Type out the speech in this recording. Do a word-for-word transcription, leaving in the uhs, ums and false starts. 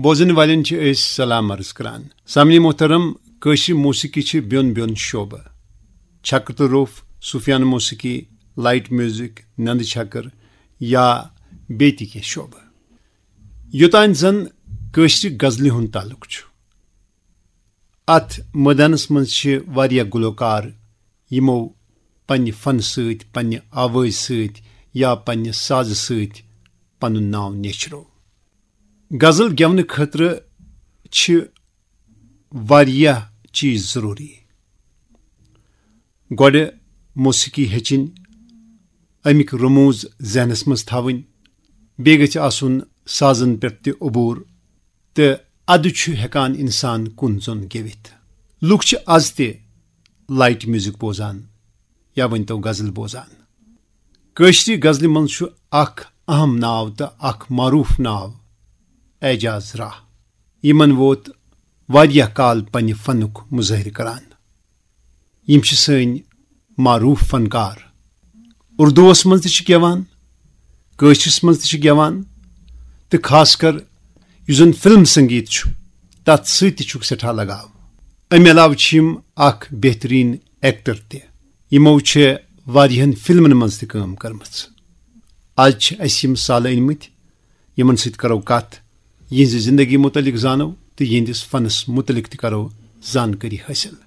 بوزن والٮ۪ن چھِ أسۍ سلام عرض کران۔ سامعین محترم، کٲشرِ موسیقی چھِ بیوٚن بیوٚن شعبہٕ، چھکر تہٕ روٚف، صوفیانہٕ موسیقی، لائٹ میوزک، نندٕ چھکر یا بیٚیہِ تہِ کینٛہہ شعبہٕ۔ یوٚتام زن کٲشرِ غزلہِ ہُنٛد تعلق چھُ، اتھ مٲدانس منٛز چھِ واریاہ گلوکار، یِمو پننہِ فن سۭتۍ، پننہِ آوازِ سۭتۍ یا پننہِ سازٕ سۭتۍ پنُن ناو نیچھرو۔ غزل گٮ۪ونہٕ خٲطرٕ چھِ واریاہ چیٖز ضروٗری۔ گۄڈٕ موسیقی ہیٚچھِنۍ، اَمِکۍ رموز ذہنس منٛز تھاوٕنۍ، بیٚیہِ گژھِ آسُن سازن پٮ۪ٹھ تہِ عبور، تہٕ ادٕ چھُ ہٮ۪کان انسان کُن زوٚن گٮ۪وِتھ۔ لُکھ چھِ از تہِ لائٹ میوزک بوزان یا ؤنۍ تو غزل بوزان۔ کٲشرِ غزلہِ منٛز چھُ اکھ اہم ناو تہٕ اکھ معروف ناو اعجاز راہ۔ یِمن ووت واریاہ کال پننہِ فنُک مظٲہرٕ کران۔ یِم چھِ سٲنۍ معروف فنکار۔ اردوس منٛز تہِ چھِ گٮ۪وان، کٲشرِس منٛز تہِ چھِ گٮ۪وان، تہٕ خاص کر یُس زن فلم سنگیت چھُ، تتھ سۭتۍ تہِ چھُکھ سٮ۪ٹھاہ لگاو۔ امہِ علاوٕ چھِ یِم اکھ بہترین ایکٹر تہِ۔ یِمو چھِ واریاہن فلمن منٛز تہِ کٲم کٔرمٕژ۔ از چھِ اسہِ یِم سالہٕ أنۍ مٕتۍ، یِمن سۭتۍ کرو کتھ، یِہنٛزِ زندگی متعلق زانو تہٕ یِہنٛدِس فنس متعلق تہِ کرو زانکٲری حٲصِل۔